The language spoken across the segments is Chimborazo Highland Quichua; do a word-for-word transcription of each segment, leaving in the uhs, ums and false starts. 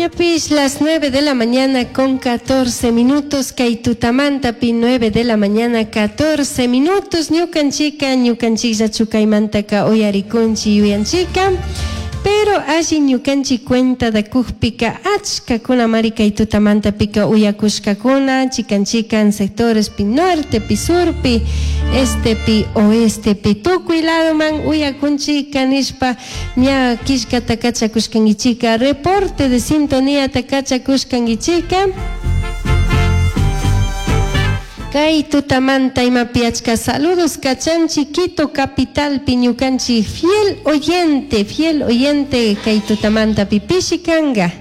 Ñapis las nueve de la mañana con catorce minutos, kay tutamantapi nueve de la mañana catorce minutos, ñukanchika, ñukanchikllachu kaymantaka uyarikunchi yuyanchika, pero alli ñukanchik cuenta da kukpika achkakunamari kay tutamantapika uyakushkakuna, chikan chikan sectorespi nortepi, surpi, estepi, oestepi, tukuy ladoman uyakunchika nishpa ña killkata kachakushkankichika, reporte de sintonía ta kachakushkankichika. Kay tutamanta imapi achka saludos kachanchi Quito capitalpi ñukanchik fiel oyente, fiel oyente kay tutamanta pipishi kanga.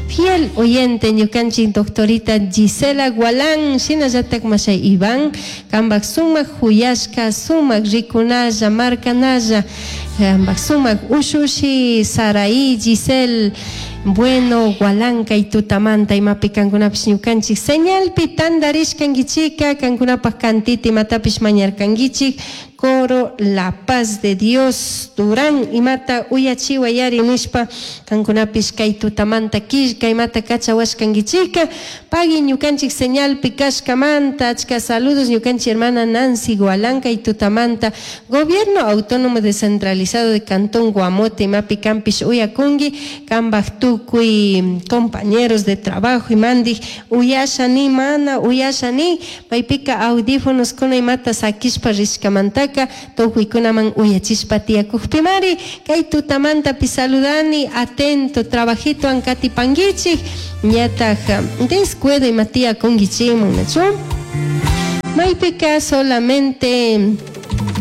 Fiel oyente ñukanchik doctorita Gisela Gualán, shinallatak mashay Iván, kambak sumak huyashka, sumak rikunalla, markanalla, kambak sumak ushushi, Saraí, Giselle, bueno, Gualán kay tutamanta imapi kankunapish ñukanchik señalpi tandarishkankichika, kankunapak kantita imatapish mañarkankichik, coro La Paz de Dios, Durán imata uyachiwayari nishpa kankunapish kay tutamanta killka imata kachawashkankichika, pagui ñukanchik señalpi kashkamanta, achka saludos ñukanchik hermana Nancy Gualán kay tutamanta, Gobierno Autónomo Descentralizado de Cantón Guamote imapi kampish uyakunki, kambak tukuy compañeros de trabajo imandij uyashani mana uyashani, paypika audífonos kuna imata sakishpa rishkamantaka tukuykunaman uyachishpa tiyakukpimari kay tutamantapi saludani atento trabajito ankatipankichik ñataj descuido ima tiyakunkichikman nachu maypika solamente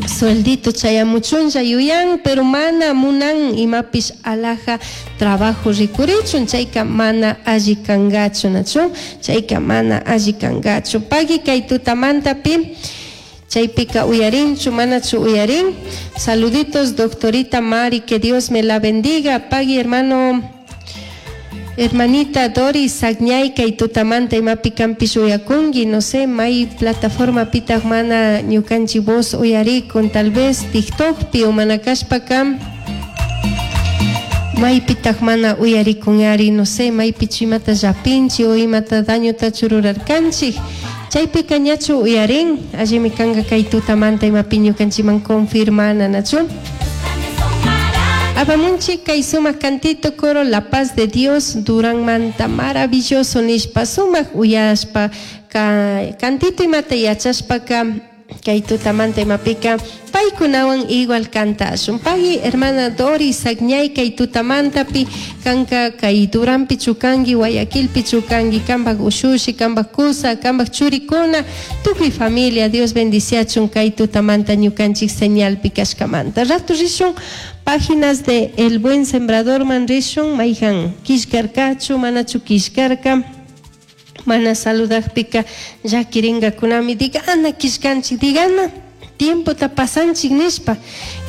sueldito chayamuchunlla yuyan pero mana munan imapish alaja trabajo rikurichun chayka mana alli kangachu nachu chayka mana alli kangachu pagui kay tutamantapi chaypika uyarinchu manachu uyarin. Saluditos doctorita Mari, que Dios me la bendiga. Pagui hermano, hermanita Doris Sagñay kay tutamanta imapi kampish uyakunki, no sé, may plataforma pitaq mana ñukanchik voz uyarikun, tal vez TikTokpi o mana kashpaka maypitaq mana uyarikunyari, no sé, maypichu imata llapinchik o imata dañotachu rurarkanchik. Chaypika ñachu uyarin, allimi kanka kay tutamanta imapi ñukanchikman confirmana, nachu. Apamunchik kay sumak cantito coro La Paz de Dios Durán manta maravilloso nishpa sumak uyashpa ka cantito imata yachashpaka kay tutamanta imapika paykunawan igual kantashun. Pagui hermana Doris Sagñay kay tutamantapi kanka kay Duranpi chukanki, Guayaquilpi chukanki, kambak ushushi, kambak kusa, kambak churikuna, tukuy familia Dios bendiciachun kay tutamanta ñukanchik señalpi kashkamanta. Rato rishun páginas de El Buen Sembrador man rishun, mayhan kishkarkachu, manachu kishkarka, mana saludakpika llakirinkakunami, digana kishkanchik, digana tiempota pasanchik nishpa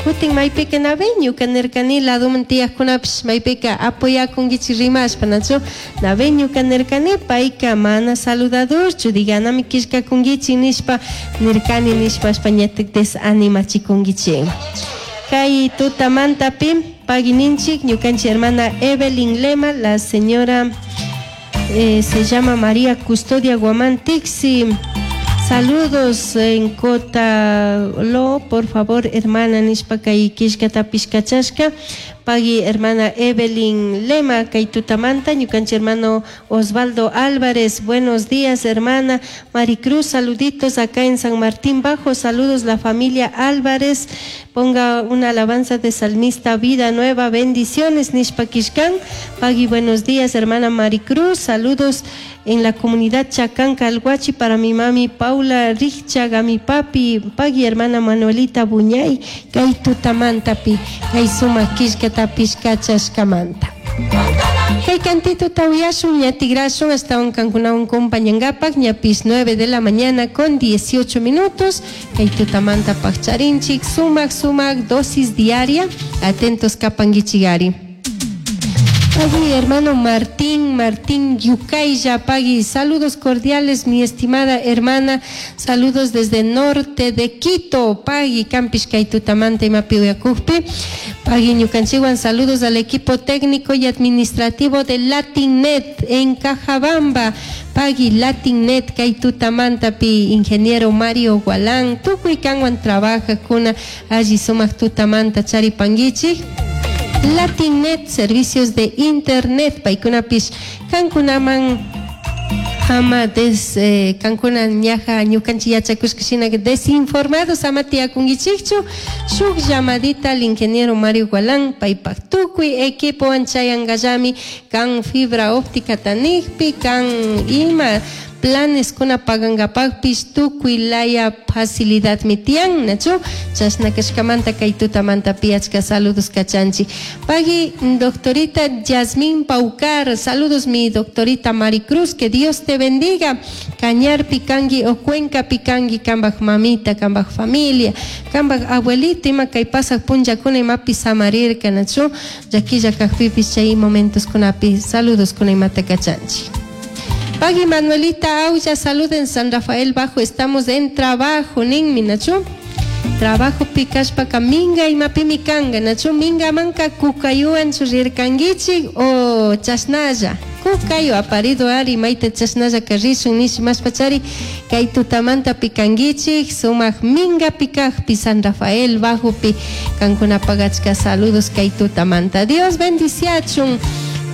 kutin maypika nabe ñuka nirkani laduman tiyakkunapish maypika apoyakunkichik rimashpa nachu nabe ñuka nirkani payka mana saludadorchu diganami kishkakunkichik nishpa nirkani nishpashpa ñatik desanimachikunkichik. Kay tutamantapi paguininchik ñukanchik hermana Evelyn Lema, la señora eh, se llama María Custodia Guamán Tixi. Saludos en Cotalo, por favor, hermana nishpa kay kishkatapish kachashka. Pagui hermana Evelyn Lema, kay tutamanta, ñukanchik hermano Osvaldo Álvarez, buenos días hermana Maricruz, saluditos acá en San Martín Bajo, saludos la familia Álvarez, ponga una alabanza de salmista Vida Nueva, bendiciones nishpa kishkan. Pagui, buenos días hermana Maricruz, saludos en la comunidad Chacán Calhuachi para mi mami Paula Richaga, mi papi, pagui hermana Manuelita Buñay, kay tutamantapi, kay sumak kishkatapish kachashkamanta. Kay cantito tawiyashun, ñatigrashun, hasta un kankunawan compañangapak, ñapis nueve de la mañana con dieciocho minutos, kay tutamanta pakcharinchik, sumak sumak, dosis diaria, atentos kapangichigari. Pagui, hermano Martín, Martín Yucayya, Pagui, saludos cordiales, mi estimada hermana, saludos desde norte de Quito, Pagui, canpish kay tutamanta imapi uyacujpi, Pagui ñukanchikwan, saludos al equipo técnico y administrativo de LatinNet en Cajabamba, Pagui, LatinNet, kay tutamantapi, ingeniero Mario Gualán, tukuy kanwan trabajajkuna, alli sumak tutamanta charipanguichik. LatinNet, servicios de internet, paykunapish kankunaman ama des eh, kankuna ñaja ñukanchik yachakushka shina desinformados ama tiyakunkichikchu shuk llamadita al ingeniero Mario Gualán paypak tukuy equipowan chayankallami kan fibra óptica tanikpi kan ima planes kuna pagankapakpish tukuy laya facilidadmi tiyan nachu chashna kashkamanta kay tutamanta achka saludos kachanchik pagui doctorita Yasmín Paucar saludos mi doctorita Maricruz que Dios te bendiga Cañarpi kanki o Cuencapi kanki kambaj mamita kambaj familia kambaj abuelito ima kay pasaj punllakuna imapi samarirka nachu llaquilla kajpipish chay momentos kunapi saludos kuna imata kachanchik Pagui Manuelita Aulla, saluden San Rafael Bajo, estamos en trabajo, ninmi, nachu. Trabajo kashpaka minga imapimi kanga, nachu mingamanka kukayuwan rirkanguichik o chashnalla. Kukayu aparido ari mayta chashnalla rishun nish mashpachari kay tutamanta pikanguichik sumak minga pikajpi San Rafael Bajopi kankunapak achka saludos kay tutamanta. Dios bendiciachun.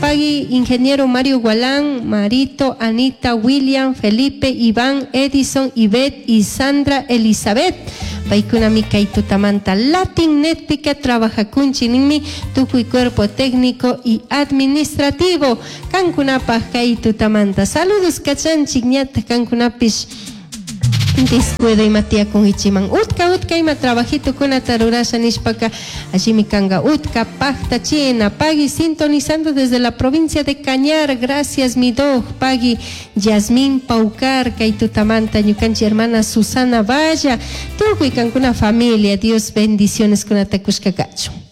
Pagui, ingeniero Mario Gualán, Marito, Anita, William, Felipe, Iván, Edison, Ivette y Sandra Elizabeth. Paykunami kay tutamanta Latin Netpika trabajakunchik ninmi tukuy cuerpo técnico y administrativo. Kankunapaj kay tutamanta. Saludos kachanchik ñata kankunapish descuido ima tiyakunkichiman utka utka ima trabajito kunata rurasha nishpaka allimi kanga utka pajtachina pagui sintonizando desde la provincia de Cañar gracias mi dog pagui Yasmín Paucar kay tutamanta ñukanchik hermana Susana Valla tukuy kankuna familia Dios bendiciones kunata kushka kachun.